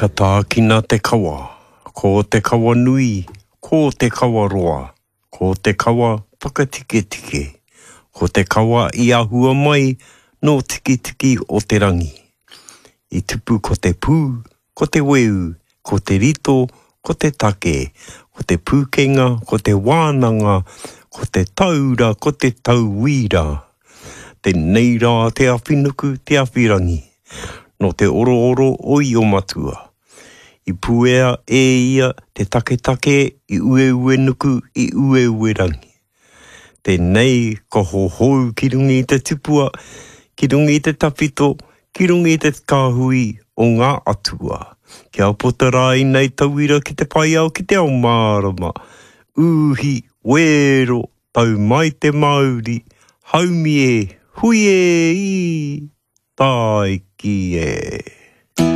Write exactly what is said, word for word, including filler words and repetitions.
Ka tākina te kawa, ko te kawa nui, ko te kawa roa, ko te kawa whakatiketike, ko te kawa i ahua mai nō Tikitiki o te rangi. I tupu ko te pū, ko te weu, ko te rito, ko te take, ko te pūkenga, ko te wānanga, ko te taura, ko te tauira. Tēnei rā te awhinuku, te awhirangi, nō te orooro o Io-matua. I puea e ia te taketake i Ueuenuku, i Ueuerangi. Tēnei ka hohou ki runga i te tipua, ki runga i te tawhito, ki runga i te kāhui o ngā atua. Kia puta rā ēnei tauira ki te whai ao ki te ao mārama. Uhi, wero, tau mai te mauri, haumi e, hui e, ī, tāiki e.